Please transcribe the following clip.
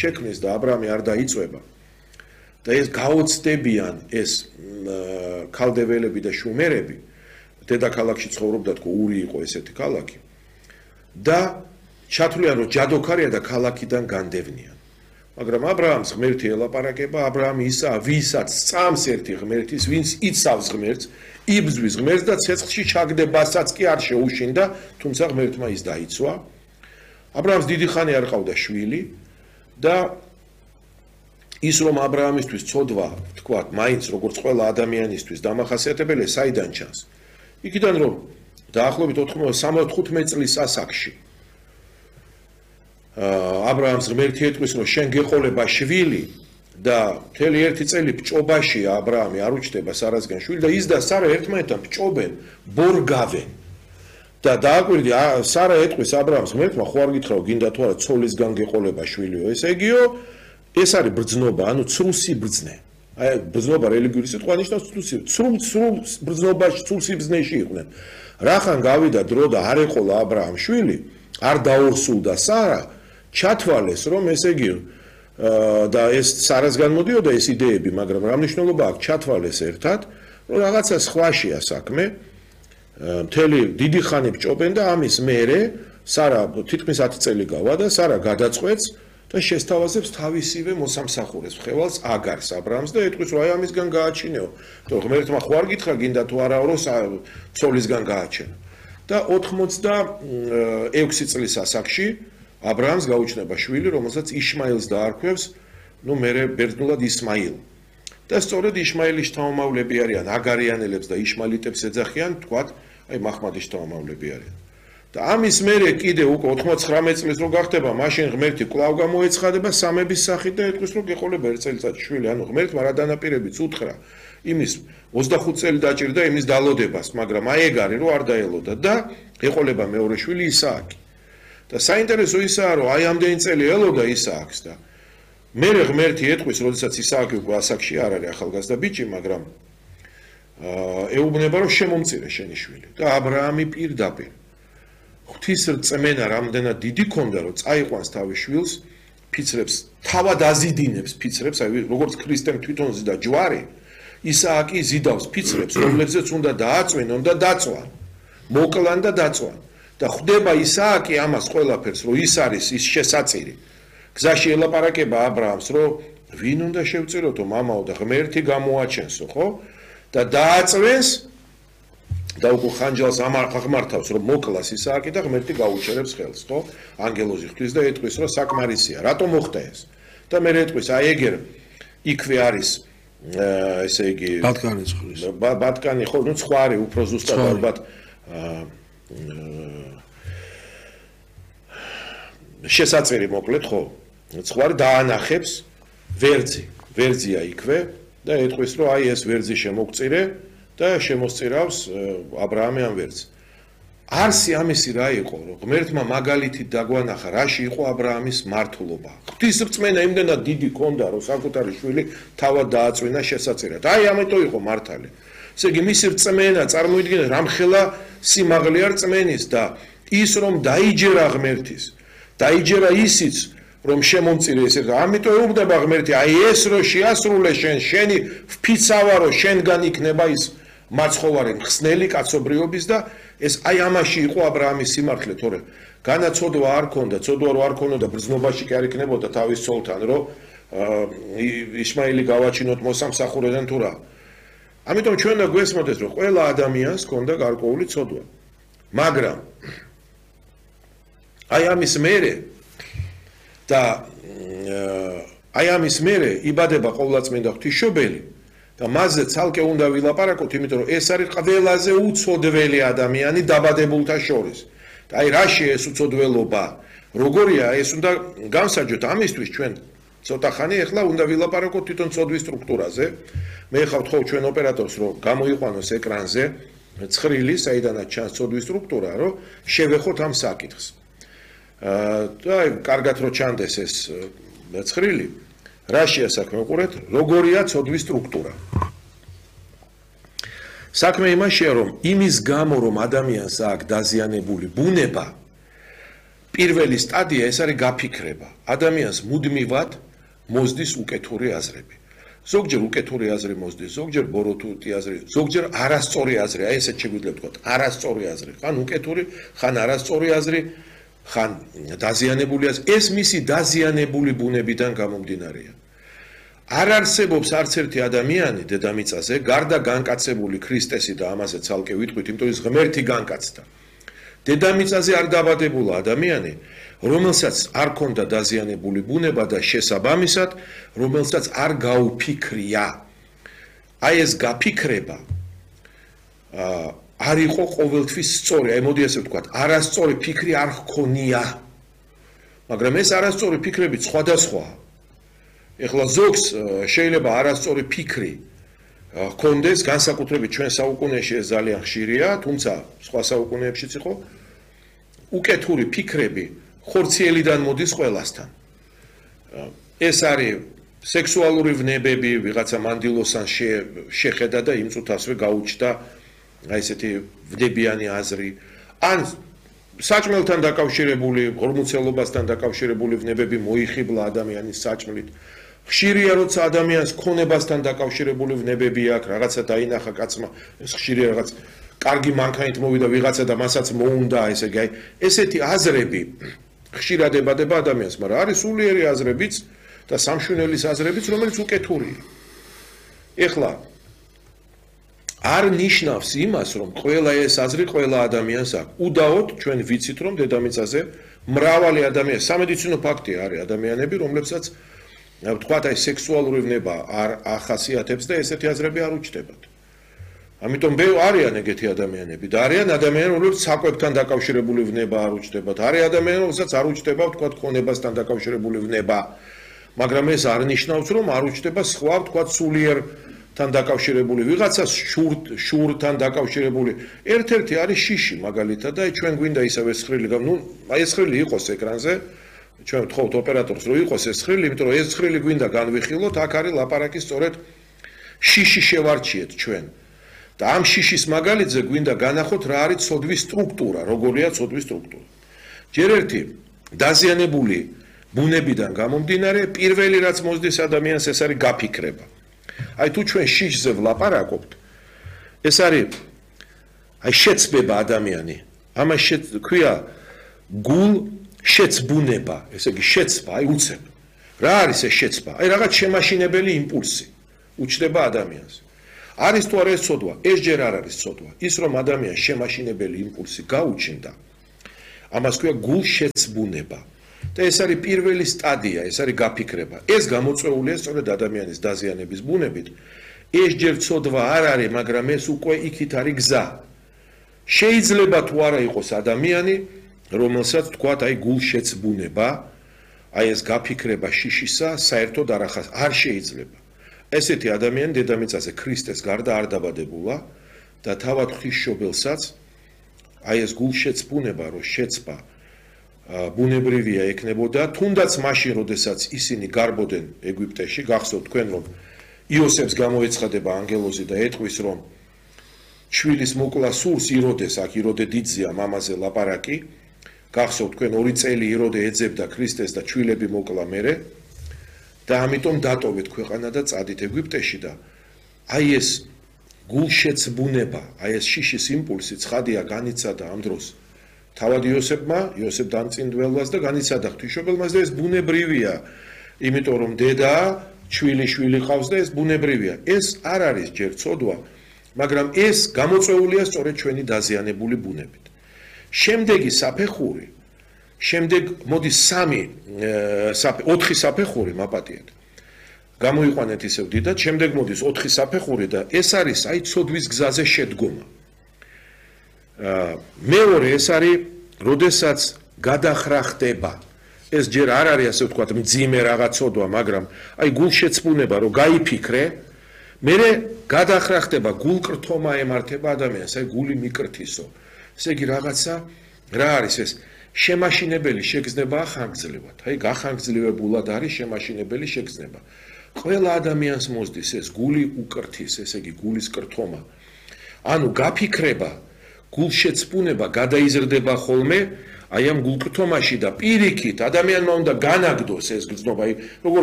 შექმნის და აბრაამი არ დაიწვება და ეს გაოცდებიან ეს ქალდეველები და შუმერები დედაქალაქში ცხოვრობდა თქო ური იყო ესეთი ქალაქი და ჩათვლიან რომ ჯადოქარია და ქალაქიდან განდევნიან მაგრამ აბრაამს ღმერთი ელაპარაკება აბრაამი ისა ვისაც წამს ერთი ღმერთის ვინც იცავს ღმერთს იბრძვის ღმერთს და ცეცხლში ჩაგდებასაც კი არ შეუშინდა თუმცა ღმერთმა ის დაიცვა აბრაამს დიდი ხანი არ ყავდა შვილი და ის რომ აბრაამისთვის ცოდვა თქვათ მაინც როგორც ყველა ადამიანისთვის დამახასიათებელია საიდან ჩანს იქიდან რომ დაახლოებით 75 წლის ასაკში აბრაამს ღმერთი ეტყვის რომ შენ გეყოლება შვილი და მთელი ერთი წელი ბჭობაში აბრაამი არ უჩნდება სარასგან შვილი და ის და სარა ერთმანეთთან ბჭობენ ბორგავენ და დააკვირდი სარა ეტყვის აბრაამს ღმერთმა ხო არ გითხრაო გინდა თუ არა ცოლისგან გეყოლება შვილიო ესე იგიო ეს არის ბრძნობა ანუ ცრუსიბრძნე აი ბრძნობა რელიგიური სიტყვა ნიშნავს ცრულ ბრძნობაში ცრუსიბრძნეში იყვნენ რახან გავიდა დრო და არ ეყოლა აბრაამ შვილი არ დაორსულდა სარა ჩათვალეს რომ ესე იგი და ეს სარასგან მოდიოდა ეს იდეები მაგრამ რა მნიშვნელობა აქვს ჩათვალეს ერთად რომ რაღაცა სხვაშია საქმე მთელი დიდი ხანი ბჭობენ და ამის მერე სარა თითქმის 10 წელი გავა და სარა გადაწყვეტს და შესთავაზებს თავისივე მოსამსახურეს ხევალს აგარს აბრაამს და ეტყვის რომ აი ამისგან გააჩინეო თუ ღმერთმა ხო არ გითხრა გინდა თუ არა რომ ცოლისგან გააჩენო და 86 წლის ასაკში აბრაამს გაუჩნდება შვილი რომელსაც იშმაილს დაარქვევს ნუ მერე ბერძნულად ისმაილ და სწორედ იშმაილის შთამომავლები არიან აგარიანელებს და იშმაილიტებს ეძახიან თქვათ აი მაჰმადის შთამომავლები არიან და ამის მერე კიდე უკვე 99 წლის რო გახდება მაშინ ღმერთი კვლავ გამოეცხადება სამების სახით და ეტყვის რომ გეყოლება ერთ წელიწადში შვილი ანუ ღმერთმა რა დანაპირებიც უთხრა იმის 25 წელი დაჭირდა იმის დალოდებას მაგრამ აი ეგ არის რომ არ დაელოდა და ეყოლება მეორე შვილი ისააკი და საინტერესო ისაა რომ აი ამდენი წელი ელოდა ისააკს და მერე ღმერთი ეტყვის როდესაც ისააკი უკვე ასაკში არ არის ახალგაზრდა ბიჭი მაგრამ ეუბნება რომ შემომწირე შენი შვილი და აბრაამი პირდაპირ ღვთის რწმენა რამდენად დიდი ქონდა რომ წაიყვანს თავის შვილს ფიცრებს თავად აზიდინებს ფიცრებს აი როგორც ქრისტემ თვითონ ზიდა ჯვარი ისააკი ზიდავს ფიცრებს რომლებზეც უნდა დააწვენონ და დაწვან მოკლან და დაწვან და ხვდება ისააკი ამას ყველაფერს რომ ის არის ის შესაწირი გზაში ელაპარაკება აბრაამს რომ ვინ უნდა შევწიროთო მამაო და ღმერთი გამოაჩენსო ხო და დააწვენს და უკვე ხანჯალს აღმართავს რომ მოკლას ისააკი და ღმერთი გაუჩერებს ხელს ხო ანგელოზი ხვთვის და ეტყვის რომ საკმარისია რატომ მოხდა ეს და მე ეტყვის აი ეგერ იქვე არის ესე იგი ბატკანი ხო ნუ ცხარი უფრო ზუსტად ალბათ შესაწერი მოკლედ ხო ცხარი დაანახებს ვერძია იქვე და ეტყვის რომ აი ეს ვერძი შემოგწირე და შემოსწირავს აბრაამი ამ ვერძს არსი ამისი რა იყო რომ ღმერთმა მაგალითით დაგვანახა რაში იყო აბრაამის მართლობა ღვთის რწმენა იმდენად დიდი ქონდა რომ საკუთარი შვილი თავად დააწვენა შესაწირად აი ამიტომ იყო მართალი ესე იგი მისი რწმენა წარმოიდგინეთ რამხელა სიმაღლე არ რწმენის და ის რომ დაიჯერა ღმერთის დაიჯერა ისიც რომ შემომწირე ესე ამიტომ ეუბნება ღმერთი აი ეს რო შეასრულე შენი ვფიცავა რომ შენგან იქნება ის მაცხოვარი მხსნელი კაცობრიობის და ეს აი ამაში იყო აბრაამის სიმართლე თორე განაცოდვა არ ქონდა ცოდვა რო არ ქონოდა ბრძნობაში კი არ იქნებოდა თავის ცოლთან რომ იშმაილი გავაჩინოთ მოსამსახურიდან თუ რა ამიტომ ჩვენ და გვესმოდეს რომ ყველა ადამიანს ქონდა გარკვეული ცოდვა მაგრამ აი ამის მერე და აი ამის მერე იბადება ყოვლადწმინდა ღვთისმშობელი და მასზე ცალკე უნდა ვილაპარაკოთ იმიტომ რომ ეს არის ყველაზე უცოდველი ადამიანი დაბადებულთა შორის და აი რაში ეს უცოდველობა როგორია ეს უნდა განსაჯოთ ამისთვის ჩვენ ცოტა ხანი ახლა უნდა ვილაპარაკოთ თვითონ ცოდვის სტრუქტურაზე მე ხავ თხოვ ჩვენ ოპერატორს რომ გამოიყვანოს ეკრანზე ცხრილი საიდანაც ჩანს ცოდვის სტრუქტურა რომ შევეხოთ ამ საკითხს და კარგად რო ჩანდეს ეს ცხრილი რაშია საქმე უყურეთ როგორია ცოდვის სტრუქტურა საქმე იმაშია რომ იმის გამო რომ ადამიანს აქვს დაზიანებული ბუნება პირველი სტადია ეს არის გაფიქრება. ადამიანს მუდმივად მოსდის უკეთური აზრები. ზოგჯერ უკეთური აზრი მოსდის, ზოგჯერ ბოროტი აზრი, ზოგჯერ არასწორი აზრი, აი ესეც შეგვიძლია ვთქვათ, არასწორი აზრი, ხან უკეთური, ხან არასწორი აზრი, ხან დაზიანებული აზრი. ეს მისი დაზიანებული ბუნებიდან გამომდინარეა. არ არსებობს არც ერთი ადამიანი დედამიწაზე, გარდა განკაცებული ქრისტესი და ამაზე ცალკე ვიტყვით, იმიტომ ის ღმერთი განკაცდა. დედამიწაზე არ დაბადებულა ადამიანი, რომელსაც არ ქონდა დაზიანებული ბუნება და შესაბამისად, რომელსაც არ გაუფიქრია. აი ეს გაფიქრება არ იყო ყოველთვის სწორი, აი მოდი ასე ვთქვათ, არასწორი ფიქრი არ ჰქონია. მაგრამ ეს არასწორი ფიქრები სხვადასხვაა. ეხლა ზოგს შეიძლება არასწორი ფიქრი ჰქონდეს, განსაკუთრებით ჩვენ საუკუნეში ეს ძალიან ხშირია, თუმცა სხვა საუკუნეებშიც იყო. უკეთური ფიქრები ხორციელიდან მოდის ყველასთან. ეს არის სექსუალური ვნებები, ვიღაცა მანდილოსან შეხედა და იმ წუთასვე გაუჩნდა აი ესეთი ვნებიანი აზრი, ან საჭმელთან დაკავშირებული, ღორმუცელობასთან დაკავშირებული ვნებები მოიხიბლა ადამიანის საჭმლით. ხშირია როცა ადამიანს ქონებასთან დაკავშირებული ვნებები აქვს, რაღაცა დაინახა კაცმა, ეს ხშირია რაღაც კარგი მანქანით მოვიდა ვიღაცა და მასაც მოუნდა, ესე იგი, აი ესეთი აზრები ხშირად ებადება ადამიანს, მაგრამ არის სულიერი აზრებიც და სამშვენელის აზრებიც, რომელიც უკეთურია. ეხლა არ ნიშნავს იმას, რომ ყველა ეს აზრი ყველა ადამიანს აქვს. უდაოდ ჩვენ ვიცით, რომ დედამიწაზე მრავალი ადამიანი, სამედიცინო ფაქტია, არის ადამიანები, რომლებსაც ვთქვათ, აი სექსუალური ვნება არ ახასიათებს და ესეთი აზრები არ უჩნდებათ. ამიტომ არიან ეგეთი ადამიანები და არიან ადამიანები, რომლებიც საკვებთან დაკავშირებული ვნება არ უჩნდებათ. არის ადამიანები, რომელსაც არ უჩნდება, ვთქვათ, ქონებასთან დაკავშირებული ვნება. მაგრამ ეს არ ნიშნავს, რომ არ უჩნდება სხვა, ვთქვათ, სულიერთან დაკავშირებული ვიღაცას შურთან დაკავშირებული. ერთ-ერთი არის შიში, მაგალითად, და ჩვენ გვინდა ისევ ეს ცხრილი, ნუ აი ეს ცხრილი იყოს ეკრანზე. ჩვენ ვთხოვთ ოპერატორს, რომ იყოს ეს ცხრილი, იმიტომ რომ ეს ცხრილი გვინდა განვიხილოთ, აქ არის ლაპარაკი სწორედ შიში შევარჩიეთ ჩვენ. და ამ შიშის მაგალითზე გვინდა განახოთ რა არის ცოდვის სტრუქტურა, როგორია ცოდვის სტრუქტურა. ჯერ ერთი დაზიანებული ბუნებიდან გამომდინარე, პირველი რაც მოსდის ადამიანს, ეს არის გაფიქრება. აი თუ ჩვენ შიშზე ვლაპარაკობთ, ეს არის აი შეცბება ადამიანი. ამას ქვია გულ შეცბუნება, ესე იგი შეცბა, აი უცებ. რა არის ეს შეცბა? აი რაღაც შემაშინებელი იმპულსი უჩნდება ადამიანს. არის თუ არა ეს ცოდვა? ეს ჯერ არ არის ცოდვა. ის რომ ადამიანს შემაშინებელი იმპულსი გაუჩნდა, ამას ქვია გულშეცბუნება. და ეს არის პირველი სტადია, ეს არის გაფიქრება. ეს გამოწვეულია სწორედ ადამიანის დაზიანების ბუნებით. ეს ჯერ ცოდვა არ არის, მაგრამ ეს უკვე იქით არის გზა. შეიძლება თუ არა იყოს ადამიანი, რომელსაც თქვათ აი გულშეცბუნება, აი ეს გაფიქრება შიშისა, საერთოდ არ შეიძლება. ესეთი ადამიანი დედამიწაზე ქრისტეს გარდა არ დაბადებულა და თავად ღვთისმშობელსაც აი ეს გულშეცბუნება რო შეცბა ბუნებრივია ექნებოდა, თუნდაც მაშინ, როდესაც ისინი გარბოდნენ ეგვიპტეში, გახსოვთ თქვენ, რომ იოსებს გამოეცხადება ანგელოზი და ეტყვის, რომ შვილის მოკლა სურს იროდეს, აქ იროდე დიდზეა მამაზე ლაპარაკი, გახსოვთ თქვენ 2 წელი იროდე ეძებდა ქრისტეს და შვილები მოკლა მერე და ამიტომ დატოვეთ ქვეყანა და წადით ეგვიპტეში და აი ეს გულშეცბუნება, აი ეს შიშის იმპულსი ცხადია განიცადა ამ დროს თავად იოსებ დამწინდველას და განიცადა ღვთისმშობელმაც და ეს ბუნებრივია, იმიტომ რომ დედა შვილი ყავს და ეს ბუნებრივია. ეს არ არის ჯერ ცოდვა, მაგრამ ეს გამოწვეულია სწორედ ჩვენი დაზიანებული ბუნებით. შემდეგი საფეხური, მოდის 4 საფეხური მაპატიეთ. გამოიყვანეთ ისევ დიდად, შემდეგ მოდის 4 საფეხური და ეს არის აი ცოდვის გზაზე შედგომა. მეორე ეს არის, როდესაც გადახრა ხდება. ეს ჯერ არ არის ასე ვთქვათ მძიმე რაღაც ცოდვა, მაგრამ აი გულშეცბუნება რომ გაიფიქრე, მერე გადახრა ხდება, გულკრთომა ემართება ადამიანს, აი გული მიკრთისო. ესე იგი რაღაცა რა არის ეს? შემაშინებელი შეგრძნება ხანგრძლივად. აი გახანგრძლივებულად არის შემაშინებელი შეგრძნება. ყველა ადამიანს მოსდის ეს გული უკრთის, ესე იგი გულის კრთომა. ანუ გაფიქრება, გულშეცბუნება გადაიზრდება ხოლმე აი ამ გულკრთომაში და პირიქით ადამიანმა უნდა განაგდოს ეს გრძნობა, როგორც